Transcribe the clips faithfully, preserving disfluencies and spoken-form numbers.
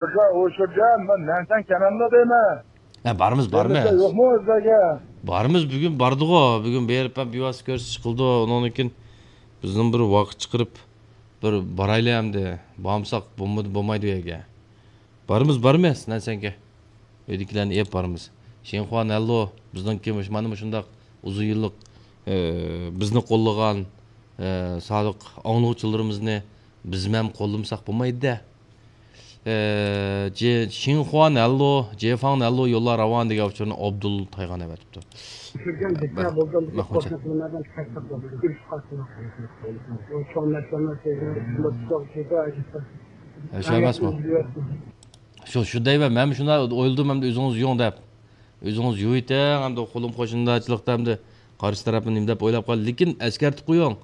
ئۇشۇرجان، مەن نەنسەن كەنەملا دەيمەن. ھە، بارىمىز، بارىمىز. يوقمۇ ئۆزلەرگە؟ بارىمىز، بۈگۈن باردىغۇ. بۈگۈن بېرىپ ھەم بىۋاسىتە كۆرسىتىش قىلدى. ئۇنىڭدىن كېيىن بىزنىڭ بىر ۋاقىت چىقىرىپ، بىر بارايلى ئەمدى. بارمىساق بولمىدى، بولمايدۇ ئۇ يەرگە. بارىمىز، بارىمىز، نەنسەنگە. ئۆيدىكىلەرنى ئېلىپ بارىمىز. شىنخۇا نەنلۇ، بىزنىڭكى مۇش-، مانا مۇشۇنداق ئۇزۇن يىللىق، ئى، بىزنى قوللىغان، ئى، سادىق ئاڭلىغۇچىلىرىمىزنى بىزمۇ ھەم قوللىمىساق بولمايدۇ-دە. ئى، جې-، شىنخۇا نەنلۇ، جېفاڭ نەنلۇ يوللار راۋان دېگەن ئۇچۇرنى ئابدۇل تايغان ئەۋەتىپتۇ. چۈشۈرگەن بىتە بولدى، مەن قوشنا. قوشنا تىلىمەردىن تەكلىپ قىلدى. كۆرۈشۈپ قالسىڭىز. چوڭ نەرسىلەرنى سۆزلىرىنى تۇتۇپ، تۇتۇپ، تۇتۇپ، ھە، شۇ ئەمەسمۇ؟ شۇ، شۇ دەيمەن، مەنمۇ شۇنداق ئويلىدىم، ئەمدى ئۆزىڭىز يۇيۇڭ دەپ. ئۆزىڭىز يۇيۇۋېتىڭ، ئەمدى قولۇم قوشنىدارچىلىقتا ئەمدى قارشى تەرەپنى نېمە دەپ ئويلاپ قالدى. لېكىن ئەسكەرتىپ قويۇڭ،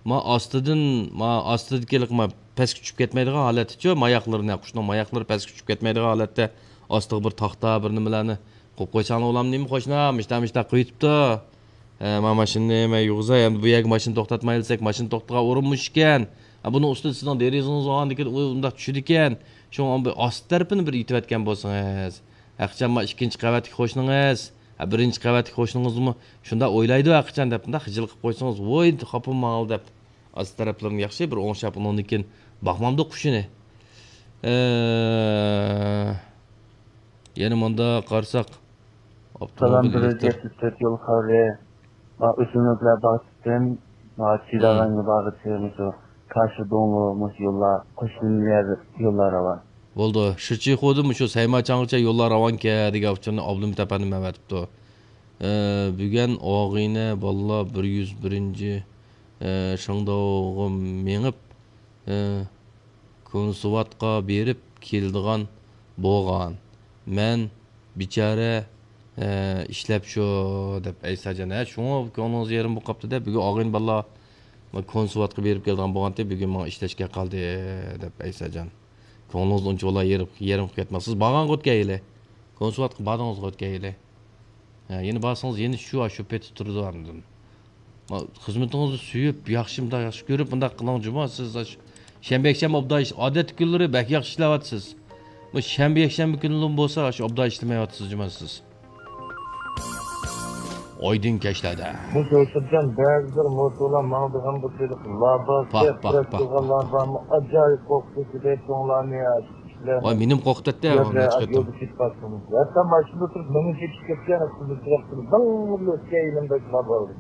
ما ئاستىدىن، ما ئاستىدىكى ما پەسكە چۈشۈپ كەتمەيدىغان ھالەتتىچۇ، ماياقلىرىنى، قۇشنىڭ ماياقلىرى پەسكە چۈشۈپ كەتمەيدىغان ھالەتتە ئاستىغا بىر تاختا، بىر نېمىلەرنى قويۇپ قويساڭلار، ئۇلام نېمە قوشنا، مىشتا، مىشتا قويۇپتۇ. ھە، ما ماشىنىنى مەن يۇغۇزاي، ئەمدى بۇ يەرگە ماشىنا توختاتمايلى دېسەك، ماشىنا توختىغان ئورۇنمۇ ئىكەن. ھە، بۇنىڭ ئۈستىدە سىزنىڭ دېرىزىڭىز بولغاندىكىن ئۇ ئۇنداق چۈشىدىكەن. شۇڭا بۇ ئاستى تەرىپىنى بىر ئېيتىۋەتكەن بولسىڭىز. ھەقىچان ما ئىككىنچى قەۋەتتىكى قوشنىڭىز، ھە، بىرىنچى قەۋەتتىكى قوشنىڭىزمۇ شۇنداق ئويلايدۇ ھەقىچان دەپ، مۇنداق خىجىل قىلىپ قويسىڭىز، ۋوي، خاپا بولماڭلار دەپ. ئاستى تەرەپلىرىنى ياخشى بىر ئوڭشاپ، ئۇنىڭدىن كېيىن باقمامدۇ قۇشىنى. ئە، يەنە مۇنداق قارىساق، سالام، ئاپتوموبىل بىر يۈز ئېلېكتر. يەتمىش تۆت يول خەۋىرى. ما ئۆسۈملۈكلەر باغچىسىدىن، ما چىداغانگا بارغۇچى مۇشۇ كاشۇ دۇڭلۇ مۇشۇ يوللار، قوشنا يەر يوللار راۋان. بولدى. شىچىخۇدىن مۇشۇ سەيماچاڭغىچە يوللار راۋانكەن دېگەن ئۇچۇرنى ئابلىمىت ئەپەندىم ئەۋەتىپتۇ. ئە، بۈگۈن ئاغىنە بالىلار بىر يۈز بىرىنچى، ئە، شېڭداۋغا مېڭىپ، ئە، كونسېۋاتقا بېرىپ كېلىدىغان بولغان. مەن بىچارە، ئە، ئىشلەپ شۇ دەپ ئەيساجان. ھە، شۇڭا كۆڭلىڭىز يېرىم بولۇپ قاپتۇ دە، بۈگۈن ئاغىنە بالىلار كونسېۋاتقا بېرىپ كېلىدىغان بولغانتى، بۈگۈن ماڭا ئىشلەشكە قالدى دەپ ئەيساجان. كۆڭلىڭىز ئۇنچىۋالا يېرىم، يېرىم قىلىپ كەتمەڭ. سىز بارغانغا ئۆتكەيلى. كونسېۋاتقا باردىڭىزغا ئۆتكەيلى. ھە، يەنە بارسىڭىز يەنە شۇ، شۇ پېتى تۇرىدۇ ئاندىن. ما-، خىزمىتىڭىزنى سۆيۈپ، ياخشى، مۇنداق ياخشى كۆرۈپ، مۇنداق قىلىڭ جۇمۇ. سىز ئاش-، شەنبە، يەكشەنبە ئوبدان ئىش-، ئادەتتىكى كۈنلىرى بەك ياخشى ئىشلەۋاتىسىز. بۇ شەنبە، يەكشەنبە كۈنلىرىمۇ بولسا، ئاشۇ ئوبدان ئىشلىمەيۋاتىسىز جۇمۇ سىز. ئايدىڭ كەچلەردە. بۇ كۆرسەتكەن بەزى بىر موتورلار ماڭىدىغان بۇ تېلېفون لابا، پاھ، پاھ، پاھ، پاھ. لابامۇ ئاجايىپ قورقۇتۇشىدى چوڭلارنى. ۋاي، مېنىمۇ قورقۇتاتتى، يولدا كېتىپ قالسىمۇ. ھەتتا ماشىنىدا تۇرۇپ مېنى چېكىپ كەتكەن، دىڭ ئۆتكەن يېنىمدا شۇنداق بولدى.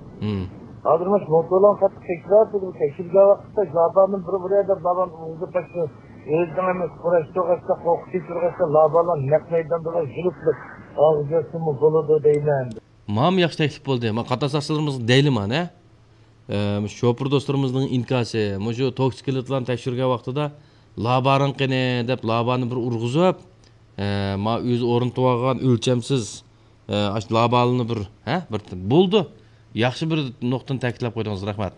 ھازىر مانا شۇ موتورلارنى قاتتىق تەكشۈرۈۋاتىدۇ، تەكشۈرگەن ۋاقىتتا لابامنى بىر ئۇرۇۋېتىپ، لابام ئۇزىتىپ، ئۆزىنىڭ ئەمەس، قۇراشتۇرغاچقا، قورقۇتۇپ تۇرغاچقا، لابالار نەق مەيداندا يۈرۈپ، ئاغزى يەتسىمۇ بولىدۇ دەيمەن. مانا ياخشى تەكلىپ بولدى. مانا قاتناش ساقچىلىرىمىزغا دەيلى مانا. ئە، مۇشۇ شوپۇر دوستلىرىمىزنىڭ ئىنكاسى، مۇشۇ توكسىكلىتلارنى تەكشۈرگەن ۋاقتىدا لابارىڭ قېنى دەپ لابانى بىر ئۇرغۇزۇپ، ئە، ما ئۆزى ئورنىتىۋالغان ئۆلچەمسىز، ئە، ئاشۇ لابالىنى بىر، ھە، بىر بولدى. ياخشى بىر نۇقتىنى تەكىتلەپ قويدىڭىز، رەھمەت.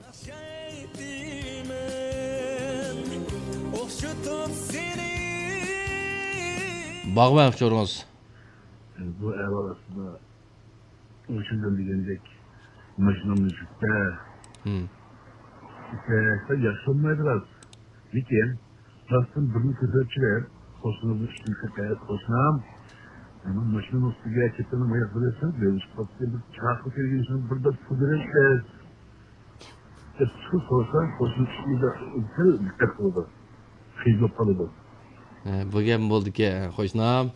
باغۋەن ئۇچۇرىڭىز. بۇ ئەھۋال ئاستىدا ئۇ شۇنداق دېگەندەك ماشىنامنى يۈكتە. ھىم. يۈكتە ياخشى بولمايدۇ راست. لېكىن راستتىن بىرنى كۆتۈرۈپ چىقىپ، قوشنىمىزنى ئۈستىگە كۆتۈرۈپ، قوشنام، مانا ماشىنىنىڭ ئۈستىگە كېتىمەن، ئاياق بىلەن بىر ئىش قاپتۇ، بىر چاقىرىپ كەلگەن ئىشنى بىر دەپ پۇل بېرىشتە. دەپ سورىسا، قوشنىسى سەل دىققەت قىلىدۇ. خىجىل بولۇپ قالىدۇ. ھە، بۇ گەپمۇ بولىدىكەن، قوشنام.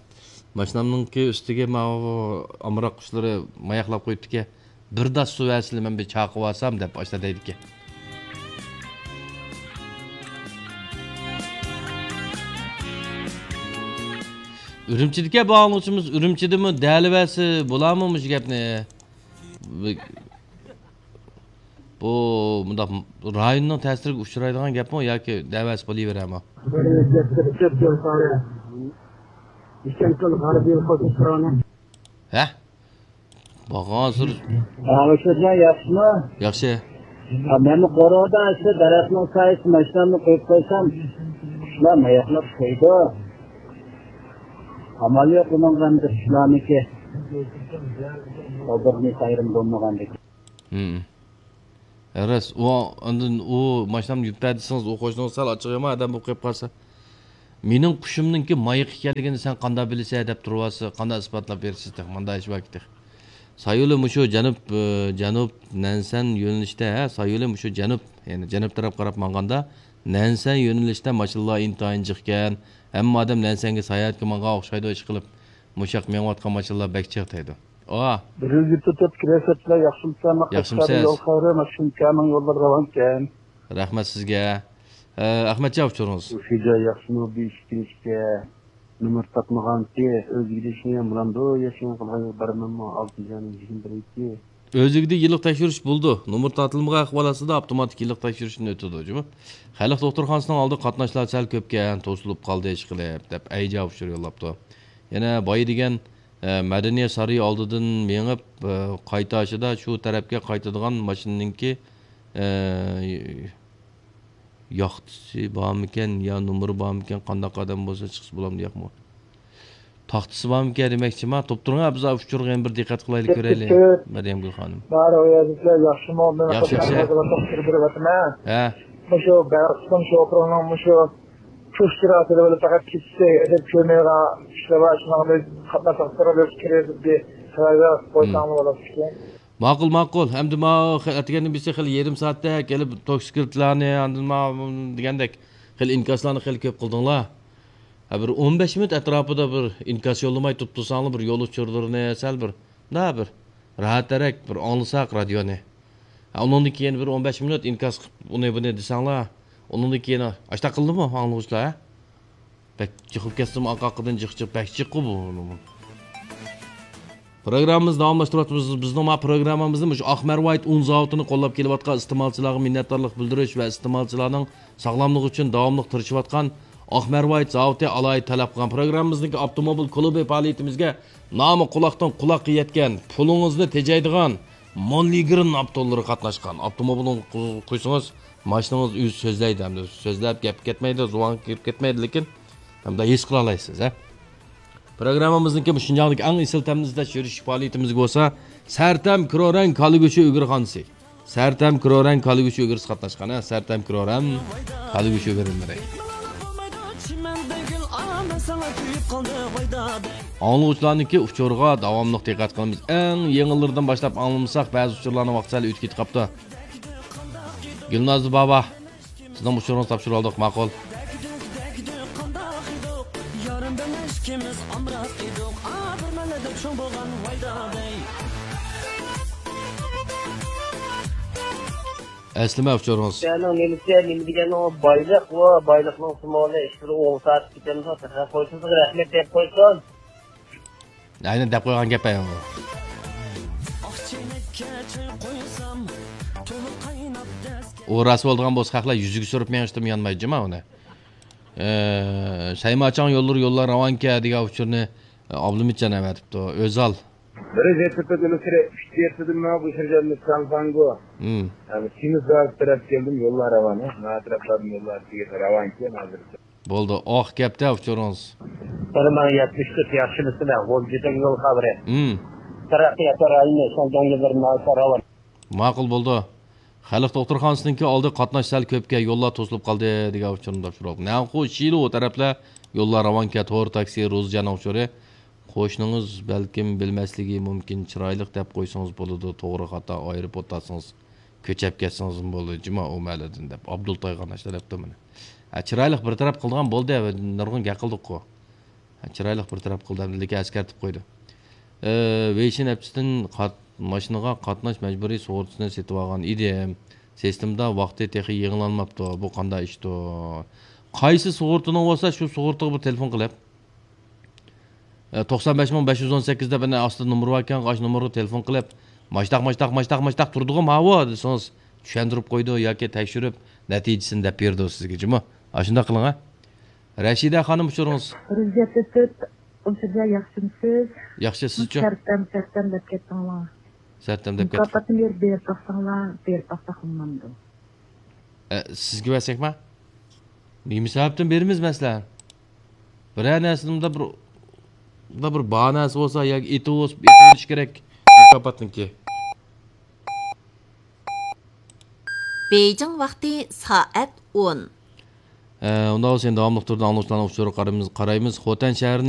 ماشىنامنىڭكى ئۈستىگە ماۋۇ ئامراق قۇشلىرى ماياقلاپ قويۇپتىكەن. بىر داس سۇ بەرسىلە، مەن بىر چاقىپ ئالسام، دەپ ئاشۇنداق دەيدىكەن. ئۈرۈمچىدىكى باھالىغۇچىمىز ئۈرۈمچىدىمۇ دەلىۋەرسە بولارمۇ مۇشۇ گەپنى؟ بۇ مۇنداق رايوننىڭ تەسىرىگە ئۇچرايدىغان گەپمۇ ياكى دەۋەرسە بولۇۋېرەرمۇ؟ ھە؟ بارغانسېرى. ھە، ياخشىمۇ؟ ياخشى. ھە، مەنمۇ قورۇدا شۇ دەرەخنىڭ سايىسىدا ماشىنامنى قويۇپ قويسام، قۇشلار ماياقلاپ قويىدۇ. ئامال يوق ئۇنىڭغا ئەمدى قۇشلارنىڭكى. ئۇ بىر نېمە ئايرىم بولمىغاندىكىن. ھىم. راست، ئۇ، ئاندىن ئۇ ماشىنامنى يۈكتە دېسىڭىز، ئۇ قوشنىڭىز سەل ئاچچىق يامان ئادەم بولۇپ قېلىپ قالسا. مېنىڭ قۇشۇمنىڭكى مايىق ئىكەنلىكىنى سەن قانداق بىلىسەن دەپ تۇرۇۋاتىسىز، قانداق ئىسپاتلاپ بېرىسىز تېخى، مانداق ئىش باركى تېخى. سايولى مۇشۇ جەنۇب، ئى، جەنۇب نەنسەن يۆنىلىشتە، ھە، سايولى مۇشۇ جەنۇب، يەنى جەنۇب تەرەپ قاراپ ماڭغاندا، نەنسەن يۆنىلىشتە ماشىنىلار ئىنتايىن جىقكەن. ھەممە ئادەم نەنسەنگە ساياھەتكە ماڭغان ئوخشايدۇ، ئىشقىلىپ، مۇشۇ ياق مېڭىۋاتقان ماشىنىلار بەك جىق دەيدۇ. ئا. بىر يۈز يەتتە تۆت كىرەسەتلەر ياخشىمۇسەن؟ ياخشىمۇسىز؟ يول خەۋىرى، ماشىنىكەنىڭ يوللىرى راۋانكەن. رەھمەت سىزگە. ئە، ئەخمەتجان ئۇچۇرىڭىز. ئۇ شىجا ياخشىمۇ بىر ئىككى كۈن ئىچىدە نومۇر تاپمىغانتى، ئۆزىگە دېيىشنى بولامدۇ، ياشىنىڭ قىلغان يول بارماممۇ، ئالتە يۈز يىگىرمە بىر ئىككى. ئۆزىگە دە يىللىق تەكشۈرۈش بولىدۇ. نومۇر تارتىلمىغان ئەھۋال ئاستىدا ئاپتوماتىك يىللىق تەكشۈرۈشتىن ئۆتىدۇ، جۇمۇ. خەلق دوختۇرخانىسىنىڭ ئالدىغا قاتناشلار سەل كۆپكەن، توسۇلۇپ قالدى ئىشقىلىپ، دەپ ئەيجا ئۇچۇر يوللاپتۇ. يەنە بايا دېگەن، ئە، مەدەنىيەت سارىيى ئالدىدىن مېڭىپ، ئە، قايتاشىدا شۇ تەرەپكە قايتىدىغان ماشىنىنىڭكى، ئە، ياختىسى بارمىكەن يا نومۇرى بارمىكەن، قانداق ئادەم بولسا چىقسا بولامدۇ ياقمۇ؟ تاختىسى بارمىكەن دېمەكچىما؟ توپتۇرۇڭ، بىز ئۇچۇرغا يەنە بىر دىققەت قىلايلى، كۆرەيلى. مەريەمگۈل خانىم. بار، ئۇ يەردىكىلەر ياخشىمۇ؟ ياخشى، ياخشى. ھە. مۇشۇ بەلخىستان شوپۇرىنىڭ مۇشۇ چۇش سۈرئەتىدە بولۇپ، پەقەت كېچىسى ئەدەپ كۆرمەيدىغان ئىشلار بار، شۇنىڭغا بىز قاتناش ئاختۇرۇپ كىرىپ بىر خەۋەر بېرىپ قويساڭلار بولىدىكەن. ماقۇل، ماقۇل. ئەمدى ماۋۇ خە-، ئەتىگەندىن بېسى خېلى يېرىم سائەتتەك كېلىپ توكسىكلىتلارنى، ئاندىن ماۋۇ دېگەندەك خېلى ئىنكاسلارنى خېلى كۆپ قىلدىڭلار. ھە، بىر ئون بەش مىنۇت ئەتراپىدا بىر ئىنكاس يوللىماي تۇرۇپ تۇرساڭلار، بىر يول ئۇچۇرلىرىنى سەل بىر، مۇنداق بىر راھەترەك بىر ئاڭلىساق رادىيونى. ھە، ئۇنىڭدىن كېيىن بىر ئون بەش مىنۇت ئىنكاس قىلىپ ئۇنى بۇنى دېسەڭلار، ئۇنىڭدىن كېيىن ئاشتاق قىلدىمۇ ئاڭلىغۇچىلار، ھە؟ بەك جىقىپ كەتسىمۇ ئارقا ئارقىدىن جىق جىق، بەك جىققۇ بۇ. پروگراممىمىزنى داۋاملاشتۇرۇۋاتىمىز. بىزنىڭ ما پروگراممىمىزنى مۇشۇ ئاق مەرۋايىت ئۇن زاۋۇتىنى قوللاپ كېلىۋاتقان ئىستېمالچىلارغا مىننەتدارلىق بىلدۈرۈش ۋە ئىستېمالچىلارنىڭ ساغلاملىقى ئۈچۈن داۋاملىق تىرىشىۋاتقان ئاق مەرۋايىت زاۋۇتى ئالاھىدە تەلەپ قىلغان پروگراممىمىزنىڭكى ئاپتوموبىل كۇلۇبى پائالىيىتىمىزگە نامى قۇلاقتىن قۇلاققا يەتكەن، پۇلىڭىزنى تېجەيدىغان مونلىگرىن ئاپتورلىرى قاتناشقان. ئاپتوموبىلنى قۇيسىڭىز، ماشىنىڭىز ئۆزى سۆزلەيدۇ، ھەمدە سۆزلەپ گەپ كەتمەيدۇ، زۇۋانغا كىرىپ كەتمەيدۇ، لېكىن ھەمدە ھېس قىلالايسىز، ھە. پروگراممىمىزنىڭكى مۇشۇ شىنجاڭدىكى ئەڭ ئېسىل تەمنى ئىزدەش يۈرۈش پائالىيىتىمىزگە بولسا سەرتەم كرورەڭ كالا گۆشى ئۆگرىخانىسى، سەرتەم كرورەڭ كالا گۆشى ئۆگرىسى قاتناشقان، ھە، سەرتەم كرورەڭ كالا گۆشى ئۆگرىلىرى. ئاڭلىغۇچىلارنىڭكى ئۇچۇرىغا داۋاملىق دىققەت قىلىمىز. ئەڭ يېڭىلىرىدىن باشلاپ ئاڭلىمىساق، بەزى ئۇچۇرلارنىڭ ۋاقتى سەل ئۆتۈپ كېتىپ قاپتۇ. گۈلنازلى بابا، سىزنىڭ ئۇچۇرىڭىزنى تاپشۇرۇۋالدۇق، ماقۇل. ئەسلىمە ئۇچۇرىڭىز. سەنىڭ نېمىسى، نېمە دېگەننىڭ ئۇ بايلىق، ئۇ بايلىقنىڭ سىمۋولى، ئىشلىرى ئوڭ سائەت كېتەمدۇ، تېخى قويسىڭىز رەھمەت دەپ قويسۇن. ئاينى دەپ قويغان گەپ ئەينى. ئۇ راست بولىدىغان بولسا، خەقلەر يۈزىگە سۈرۈپ مېڭىشتىمۇ يانمايدۇ جۇما ئۇنى. ئە، سەيماچاڭ يوللىرى يوللار راۋانكەن دېگەن ئۇچۇرنى، ئە، ئابلىمىتجان ئەۋەتىپتۇ. ئۆزال. بىر يەتتە تۆت ئۈچ يەتتىدىن مانا بۇ شىرجاننى ساڭساڭگۇ. ھىم. ئەمما سىمىز بازار تەرەپ كەلدىم، يوللار راۋان، ھە؟ ما تەرەپلەردىن يوللار راۋانكەن ھازىر. بولدى، ئاق گەپتە ئۇچۇرىڭىز. بىر مىڭ يەتمىش تۆت ياخشىمۇسىلەر، غۇلجىدىن يول خەۋىرى. ھىم. تەرەققىيات رايونى شىنجاڭ يوللىرى ناھايىتى راۋان. ماقۇل بولدى. خەلق دوختۇرخانىسىنىڭكى ئالدى قاتناش سەل كۆپكەن، يوللار توسۇلۇپ قالدى دېگەن ئۇچۇرنى تاپشۇرۇپ. نەنخۇ شىلۇ تەرەپلەر يوللار راۋانكەن، تور تاكسى، روزىجاننىڭ ئۇچۇرى. قوشنىڭىز بەلكىم بىلمەسلىكى مۇمكىن، چىرايلىق دەپ قويسىڭىز بولىدۇ، توغرا خاتا ئايرىپ ئوتاتسىڭىز، كۆچەپ كەتسىڭىزمۇ بولىدۇ، جۇما ئۇ مەھەللىدىن دەپ ئابدۇلتاي قاتناش تەلەپتە مانا. ھە، چىرايلىق بىر تەرەپ قىلىدىغان بولدى، نۇرغۇن گەپ قىلدۇققۇ. ھە، چىرايلىق بىر تەرەپ قىلدى، لېكىن ئەسكەرتىپ قويدى. ئى، ۋېيشىن ئەپچىسىدىن قات-، ماشىنىغا قاتناش مەجبۇرىي سۇغۇرتىسىنى سېتىۋالغان ئىدىم. سىستېمىدا ۋاقتى تېخى يېڭىلانماپتۇ. بۇ قانداق ئىشتۇ؟ قايسى سۇغۇرتىنىڭ بولسا، شۇ سۇغۇرتىغا بىر تېلېفون قىلىپ، ئە، توقسان بەش مىڭ بەش يۈز ئون سەككىز دەپ ئەنە ئاستىدا نومۇر باركەن، ئاشۇ نومۇرغا تېلېفون قىلىپ، ماشتاق، ماشتاق، ماشتاق، ماشتاق تۇردىغۇ ماۋۇ دېسىڭىز، چۈشەندۈرۈپ قويىدۇ ياكى تەكشۈرۈپ، نەتىجىسىنى دەپ بېرىدۇ سىزگە جۇمۇ. ئاشۇنداق قىلىڭ ھە. رەشىدە خانىم، ئۇچۇرىڭىز. بىر يۈز يەتتە تۆت، ئۇچۇردا ياخشىمۇسىز؟ ياخشى، سىزچۇ؟ سەرتەم، سەرتەم دەپ كەتتىڭلار. سەرتەم دەپ كەتتىڭ. مۇكاپاتنى بېرىپ، بېرىپ باقساڭلار، بېرىپ باقساق بولمامدۇ؟ ئە، سىزگە بەرسەكما؟ نېمە سەۋەبتىن بېرىمىز مەسىلەن؟ بىرەر نەرسىنىڭدە بىر، بىر بار نەرسە بولسا ياكى ئېتىۋ-، ئېتىۋېلىش كېرەك مۇكاپاتنىڭكى. بېيجىڭ ۋاقتى سائەت ئون. ئۇنداق بولسا، يەنە داۋاملىق تۈردە ئاڭلىغۇچىلارنىڭ ئۇچۇرىغا قارايمىز، قارايمىز. خوتەن شەھىرىنىڭ